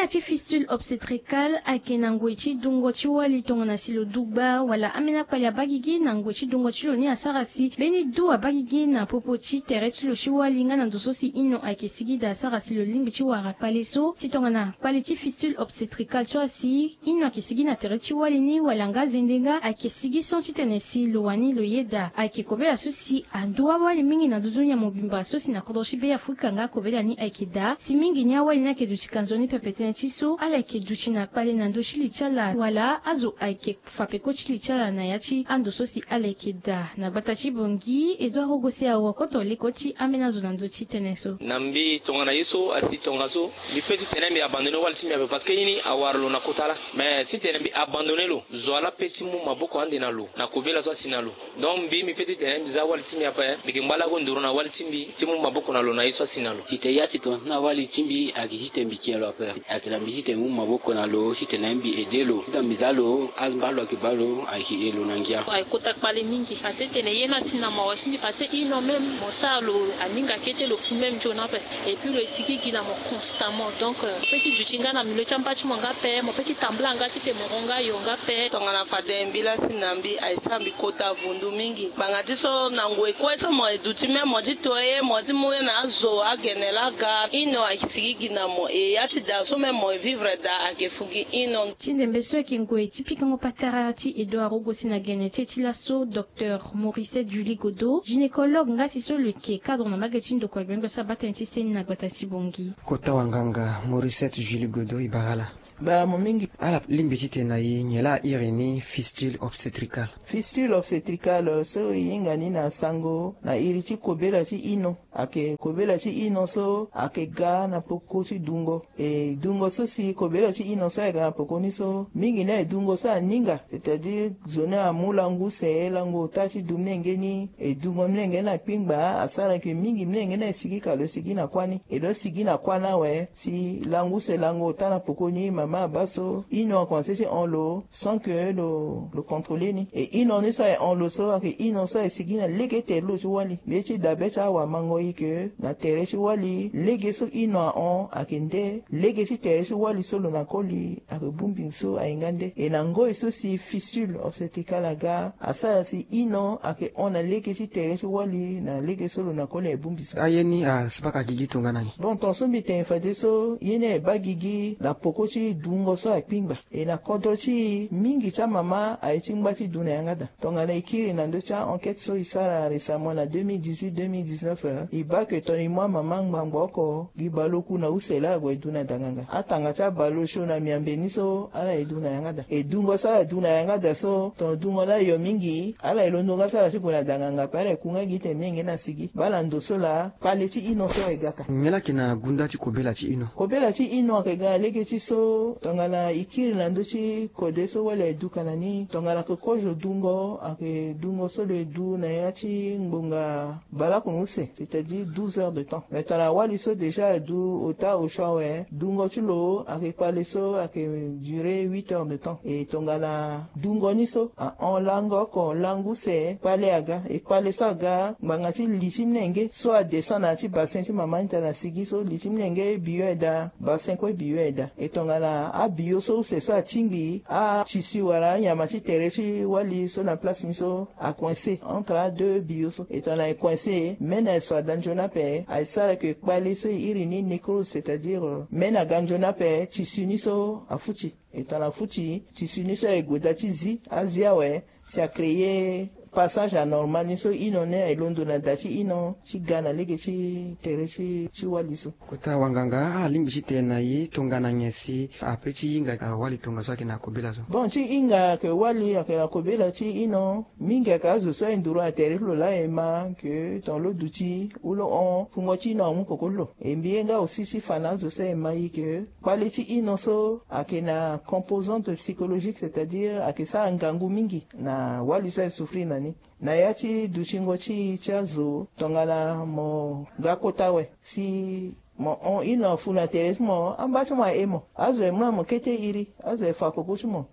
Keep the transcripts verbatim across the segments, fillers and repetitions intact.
Ti fistule obstétricale ayeke na ngoi ti dungo ti wali tongana si lo du gba wala ambeni akpali abaa gigi na ngoi ti dungo ti lo ni asara si mbeni du abaa gigi na popo ti tere ti lo ti wali nga na ndo so si ino ayeke sigi daa asara si lo lingbi ti wara kpale so. Si tongana kpali ti fistule obstétricale so asi ino ayeke sigi na tere ti wali ni wala nga zende nga ayeke sigi sans titene si lo wani lo yeda ayeke kobela so si andu awali mingi na dudu ni ya mobimba so si na kodro ti Be Afrika nga kobela ni ayeke daa si mingi ni awali ni ayeke duti kanzoni pepe tënë ti so ala yeke duti na kpale na ndö ti li ti ala wala azo ayeke fa peko ti li ti ala na ya ti ando so si ala yeke daa. Na gbata ti Bangui, Edouard Rogo si awa koto leko ti ambeni azo na ndö ti tënë so. Na mbi tongana ye so asi tongaso, mbi pe titene mbi abandonné wali ti mbi ape parce que ye ni awara lo na kota laa. Mais si tene mbi abandonné lo, zo wa laa pe ti mu maboko ande na lo na kobela so asi na lo. Donc mbi mbi pe titene mbi za wali ti mbi ape, mbi yeke ngba lago nduru na wali ti mbi ti mu maboko na lo na ye so asi na lo. Titene ya si tongana so na wali ti mbi ayeke hite mbi kie lo ape. Ayeke na mbi titene mbi mu maboko na lo titene mbi aidé lo titene mbi za lo, angba lo ayeke baa lo ayeke e lo na ngia. Ayeke kota kpale mingi parce que tene ye ni asi na mawa ti mbi parce que ino même mo sara lo aninga kete lo fu même nzoni ape. Et puis lo e sigi gi na mo constamment. Donc euh, mo pe ti duti nga na milieu ti amba ti mo nga ape, mo pe ti tambula nga titene mo hon nga yo nga ape. Tongana fade mbi laa si na mbi aye sara mbi kota vundu mingi. Ngbanga ti so na ngoi kue so mo e duti même mo ti to ye mo ti mu ye na azo agene laa aga ino aye sigi gi na mo. E ya ti daa so même mo e vivre daa ayeke fu gi ino. Ti ndembe so ayeke ngoi ti pikango patara ti Edouard Rogo si na gene ti e ti laso, Docteur Mauricette Julie Godeau, gynécologue nga si so lo yeke cadre na mbage ti ndokua gbengbe so abaa tënë ti seni na gbata ti Bangui. Kota wanganga Mauricette Julie Godeau, e bara ala. Bara mo mingi. Ala lingbi titene na e nyen laa a iri ni fistule obstétricale? Fistule obstétricale so e hinga ni na sango na iri ti kobela ti ino. Ayeke kobela ti ino so ayeke ga na peko ti dungo. E dungo so si kobela ti ino so aye ga na peko ni so mingi ni aye dungo so aninga, c'est-à-dire zo ni amu lango use, lango ota ti du molenge ni, e dungo molenge ni na kpingba asara ke mingi molenge ni aye sigi ka lo sigi na kuâ ni. E lo sigi na kuâ ni awe si lango use lango ota na peko ni mama abaa so ino akomanse ti hon lo sans que lo lo contrôler ni. E ino ni so aye hon lo so ayeke ino so aye sigi na lege tere ti lo ti wali. Mbi ye ti dabe ti awamango e ke na tere ti wali lege so ino ahon ayeke nde lege ti tere ti wali so lo na koli ayeke bongbi so aye nga nde. E na ngoi so si fistule obstétricale aga asara si ino ayeke hon na lege ti tere ti wali na lege so lo na koli aye bongbi so. Aye ni asabaka gigi tongana ni? Bon, tongaso mbi tene fadeso ye ni aye baa gigi na peko ti dungo so akpingba. E na kodro ti e mingi ti amama aye ti ngba ti du na yanga daa. Tongana e kiri na ndö ti a-enquête so e sara récemment na deux mille dix-huit deux mille dix-neuf, e baa ke tongana e mu amama ngbangbo oko gi baleoku na use laa ague du na danganga. Atanga ti abaleosio na miambe ni so ala ye du na yanga daa. E dungo so ala du na yanga daa so tongana dungo ni ayo mingi ala ye londo nga so ala ti gue na danganga ape ala ye ku nga gi tene molenge ni asigi. Baa na ndo so laa kpale ti ino so aye ga ka. Nyen laa ayeke na gunda ti kobela ti ino? Kobela ti ino ayeke ga na lege ti so tongana e kiri na ndö ti kode so wali aye duka na ni tongana ayeke kozo dungo ayeke dungo so lo ye du na ya ti ngbonga baleoko na use, c'est-à-dire douze heures de temps. Mais tongana wali so déjà aye du ota osio awe dungo ti lo ayeke kpale so ayeke durer huit heures de temps. E tongana dungo ni so ahon lango oko lango use kpale aga. E kpale so aga ngbanga ti li ti molenge so adescend na ya ti bassin ti mama ni tana sigi so li ti molenge biyo aye daa, bassin kue biyo aye daa. E tongana abiyo so use so atingbi atissu wala anyama ti tere ti wali so na place ni so acoincé entre adeux biyo so. E tongana e coincé mene aye so ada nzoni ape aye sara ke kpale so e iri ni nécrose, c'est-à-dire mene aga nzoni ape tissu ni so afuti. E tongana afuti tissu ni so aye gue da ti zi azi awe si acréer passage anormal ni so ino ni aye londo na da ti ino ti ga na lege ti tere ti ti wali so. Kota wanganga ala lingbi ti tene na e tongana nyen si ape ti hinga awali tongaso ayeke na kobela so? Bon, ti hinga ayeke wali ayeke na kobela ti ino mingi ayeke azo so aye nduru na tere ti lo laa e ma ke tongana lo duti ou lo hon fungo ti ino amu peko ti lo. E mbi ye nga aussi si fa na azo so aye ma e ke kpale ti ino so ayeke na composante psychologique, c'est-à-dire ayeke sara ngangu mingi na wali so aye souffrir na ni. Na ya ti dutingo ti e ti azo tongana mo ga kota awe si mo hon ino afu na tere ti mo amba ti mo aye mo azo aye mu na mo kete iri azo aye fa peko ti mo.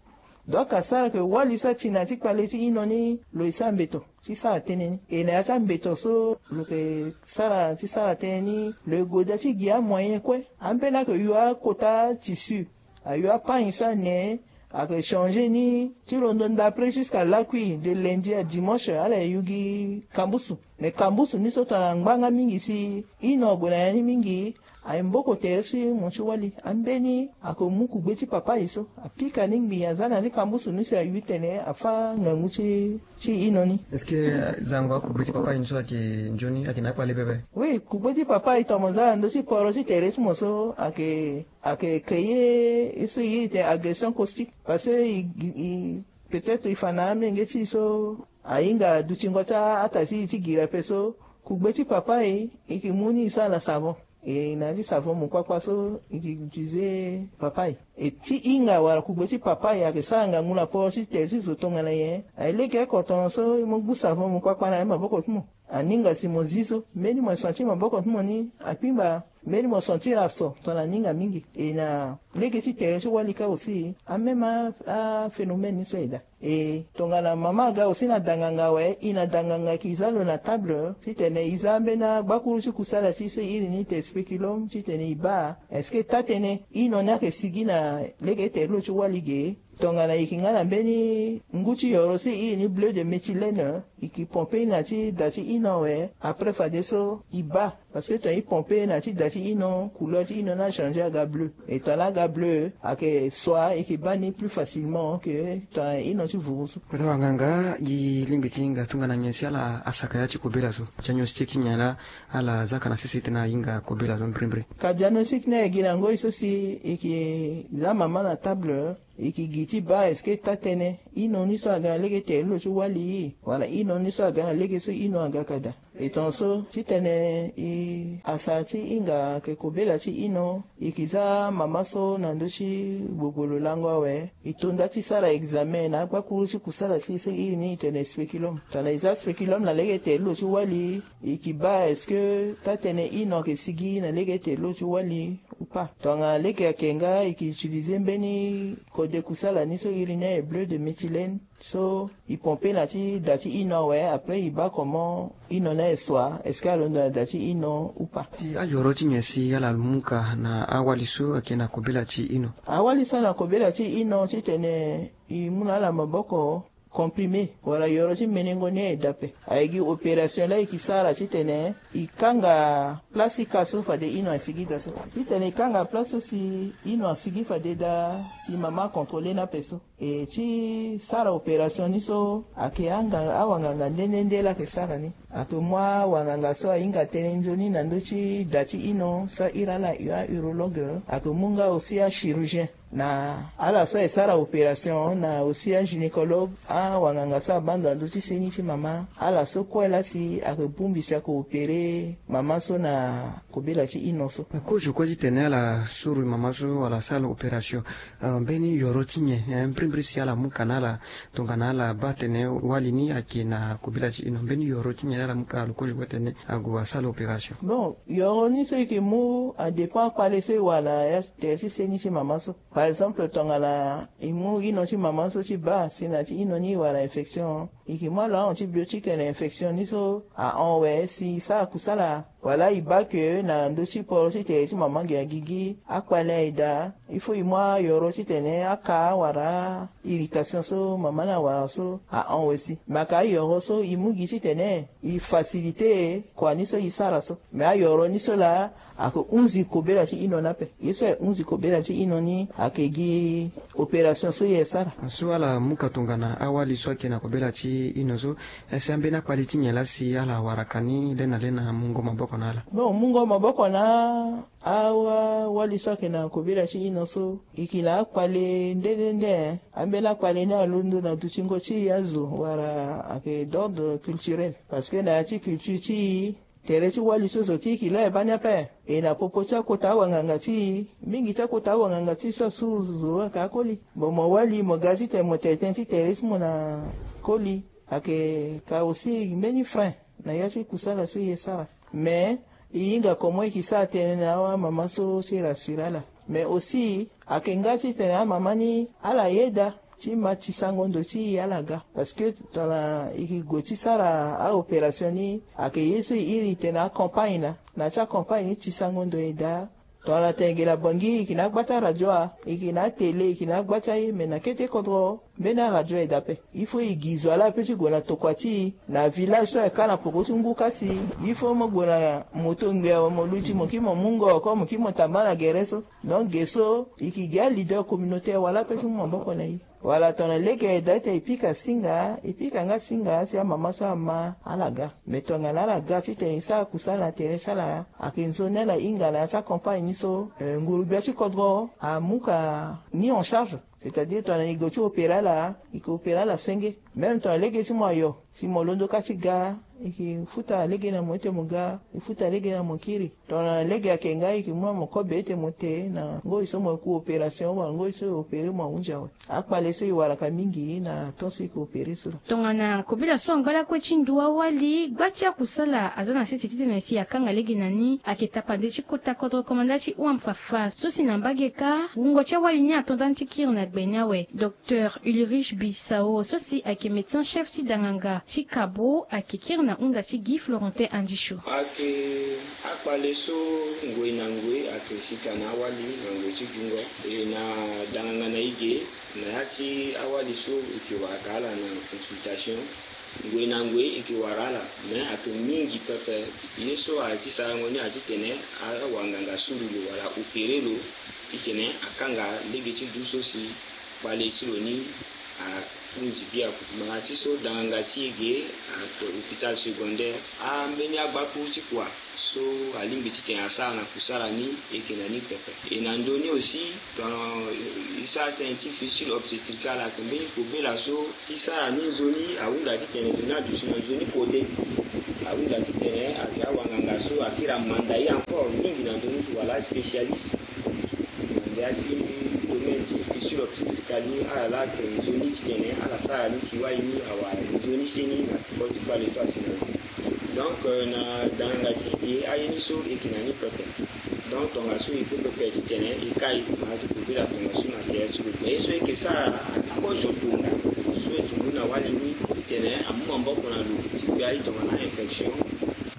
Donc asara ke wali so ati na ti kpale ti ino ni lo e sara mbeto ti sara tënë ni. E na ya ti ambeto so lo ke sara ti sara tënë ni, lo e goda ti gi amoyen kue. Ambeni ake yu akota tissu, ayu apagne so ane, ake changer ni ti londo ndapre jusqu'à lakui, de lundi à dimanche ala e yu gi kambusu. Mais kambusu ni so tongana ngbanga mingi si ino ague na ya ni mingi, aye mboko tere ti mo ti wali. Ambeni ake mu kugbe ti papa e so, apika ni ngbii, aza na ya ti kambusu ni si ayu tene afâ ngangu ti ti ino ni. Est-ce que, euh, zango akugbe ti papa e ni so ayeke nzoni, ayeke na akpale pepe? Oui, kugbe ti papa e tongana mo za na ndö ti poro ti tere ti mo so ayeke, ayeke créer ye so e iri tene agression caustique. Parce que e, e, peut-être e fa na amolenge ti e so ahinga dutingo ti ata ti e ti gira ape so, kugbe ti papa e, e yeke mu ni e sara na savon. E na ya ti savon mo kpakpa so e yeke utiliser papa e. E ti hinga wala kugbe ti papa e ayeke sara ngangu na poro ti tere ti zo tongana nyen? Aye lege oko tongaso e mu gbu savon mo kpakpa na ya ti maboko ti mo. Aninga si mo zi so, mbeni mo sentir maboko ti mo ni akpingba, mbeni mo sentir aso tongana aninga mingi. E na lege ti tere ti wali kâ aussi, amême a, aphénomène ni so aye daa. E tongana mama aga aussi na da nganga awe, e na da nganga e yeke za lo na table titene e za ambeni agbakuru ti kusala ti e so e iri ni tene spéculum titene e baa est-ce que taa-tënë ino ni ayeke sigi na lege ti tere ti lo ti wali ge. Tongana e yeke nga na mbeni ngu ti yoro so e iri ni bleu de méthylène, e yeke pompe ni na ti da ti ino awe, après fadeso e baa. Parce que tongana e pompe na ti da ti ino, couleur ti ino ni achanger aga bleu. E tongana aga bleu, ayeke soit e yeke baa ni plus facilement que tongana ino ti vuru so. Kota wanganga, e lingbi ti hinga tongana nyen si ala asaka ya ti kobela so? Diagnostic ti nyen laa ala zaka na sese titene ahinga kobela so mbirimbiri? Ka diagnostic ni aye gi na ngoi so si e yeke za mama na table, e yeke gi ti baa est-ce que taa-tënë ino ni so aga na lege ti tere ti lo ti wali, wala ino ni so aga na lege so ino aga ka daa. E tongaso titene e, asa ti hinga ayeke kobela ti ino, e yeke za mama so na ndö ti gbogbolo lango awe, e to nda ti sara examen na agbakuru ti kusala ti e so e iri ni e tene spéculum. Tongana e za spéculum na lege ti tere ti lo ti wali, e yeke baa est-ce que taa-tënë ino ayeke sigi na lege ti tere ti lo ti wali ou pas. Tongana lege ayeke nga, e yeke utiliser mbeni kode kusala ni so e iri ni aye bleu de méthylène. So e pompe na ti da ti ino awe, après e baa comment ino ni aye soit, est-ce que alondo na da ti ino ou pas. Si ayoro ti nyen si ala mu ka na awali so ayeke na kobela ti ino? Awali so na kobela ti ino titene e mu na ala maboko, comprimé wala yoro ti menengo ni aye daa ape. Aye gi opération laa e yeke sara titene e kanga place ti ka so fade ino asigi daa so. Titene e kanga place so si ino asigi fade daa, si mama acontrôler ni ape so. E ti sara opération ni so, ayeke anga awanganga nde nde nde laa ayeke sara ni. Ayeke mu awanganga so ahinga tënë nzoni na ndö ti da ti ino so a iri ala a-urologue. Ayeke mu nga aussi achirurgien na ala so aye sara opération, na aussi agynécologue, awanganga so abaa ndo na ndö ti seni ti mama. Ala so kue laa si ayeke bongbi si ayeke opérer mama so na kobela ti ino so. Kozo kue titene ala suru mama so wala sara opération, euh, mbeni yoro ti nyen, eh, mbirimbiri si ala mu ka na ala tongana ala baa tene wali ni ayeke na kobela ti ino? Mbeni yoro ti nyen ala mu ka na lo kozo kue titene ague asara opération? Bon, yoro ni so e yeke mu adépend akpale so e wara na ya tere ti seni ti mama so. Par exemple, tongana e mu ino ti mama so ti baa si na ya ti ino ni e wara infection, e yeke mu alo antibiotique na infection ni so ahon awe si e sara kusala. Wala e baa ke na ndö ti poro ti tere ti mama ge agigi, akpale aye daa, il faut e mu ayoro titene aka wala irritation so mama ni awara so ahon awe si. Me ayeke ayoro so e mu gi titene e faciliter kua ni so e sara so. Me ayoro ni so laa ayeke hunzi kobela ti ino ni ape. Ye so aye hunzi kobela ti ino ni ayeke gi opération so e sara. So ala mu ka tongana awali so ayeke na kobela ti ino so, eh, si ambeni akpali ti nyen laa si ala wara ka ni le na le na mungo maboko na ala? Bon, mungo maboko na awali so ayeke na kobela ti ino so, e yeke na akpali nde nde nde. Ambeni akpali ni alondo na dutingo ti azo wala ayeke d'ordre culturel. Parce que na ya ti culture ti e, tere ti wali so zo ti e yeke la e baa ni ape. E na popo ti akota awanganga ti e, mingi ti akota awanganga ti e so asuru zo ayeke akoli. Bon, mo wali mo ga titene mo tene tënë ti tere ti mo na koli, ayeke ka aussi mbeni frein na ya ti kusala so e sara. Mais e hinga comment e yeke sara tënë na amama so ti rassurer ala. Mais aussi ayeke nga titene amama ni ala yeda ti ma tisango ndo ti e ala ga. Parce que tongana e ke gue ti sara aopération ni, ayeke ye so e iri tene acampagne na na ti acampagne ni tisango ndo e daa. Tongana tene e ke na bangi, e ke na agba ti aradio a, e ke na atele, e ke na agba ti aye, me na kete kodro mbeni aradio aye daa ape. Il faut e gi zo ala ape ti gue na tokua ti e na village so ayeke kâ na poko ti ngu kasi. Il faut mo gue na mo to ngbia awe, mo luti mo kiri mo mungo oko, mo kiri mo tamba na gere so. Donc ge so e ke gi aleader communautaire wala ape ti mu maboko na e. Wala tongana lege aye daa ti tene e pika singa, e pika nga singa si amama so ama ala ga. Me tongana ala ga titene e sara kusala na tere ti ala, ayeke nzoni ala hinga na ya ti acampagne ni so, eh, nguru-gbia ti kodro amu ka ni en charge. C'est-à-dire tongana e gue ti opérer ala, e ke opérer ala senge. Même tongana lege ti mo ayo, si mo londo kâ ti ga, e ke futa lege na mo ti tene mo ga, e futa lege na mo kiri. Tongana lege ayeke nga, e ke mu na mo kobe ti tene mo te na ngoi so mo ku opération wala ngoi so e opérer mo ahunzi awe. Akpale so e waraka mingi na temps so e ke opérer so laa. Tongana kobela so angba lakue ti ndu awali, gba ti akusala aza na sese titene si akanga lege na ni, ayeke tapande ti kota kodro komanda ti hua fafa so si na mbage kâ, wungo ti awali ni ato ndani ti kiri na gbe ni awe. Docteur Ulrich Bissau so si ayeke médecin chef ti danganga ti Kabo ayeke kiri na hunda ti Guy Florentin Andisho. Ayeke akpale so ngoi na ngoi ayeke sika na awali na ngoi ti dungo. E na danganga na e ge na ya ti awali so e ke waraka ala na consultation. Ngoi na ngoi e ke wara ala, me ayeke mingi pepe. Ye so aye ti sarango ni aye titene awanganga suru lo wala opérer lo titene akanga lege ti du so si kpale ti lo ni ahunzi biaku. Ngbanga ti so danganga ti e ge ayeke hôpital secondaire. Ambeni agbakuru ti kua so alingbi titene asara na kusala ni, e yeke na ni pepe. E na ndö ni aussi, tongana e sara tënë ti fistule obstétricale, ayeke mbeni kobela so ti sara ni nzoni ahunda titene nzoni aduti na nzoni kode. Ahunda titene ayeke awanganga so akiri amanda ye encore mingi na ndö ni so wala aspécialiste na ndia ti domaine ti fistule obstétricale ni, ala laa ayeke nzoni titene ala sara ni si wali ni awara nzoni seni na koti kpale so asi na lo. Donc, euh, na danganga ti e ge aye ni so e yeke na ni pepe. Donc tongaso e pe pepe titene e kai ma azo kobela tongaso na tere ti lo. Mais ye so e yeke sara ayeke kozo tonga so e yeke mu na wali ni titene amu maboko na lo ti gbia e tongana infection.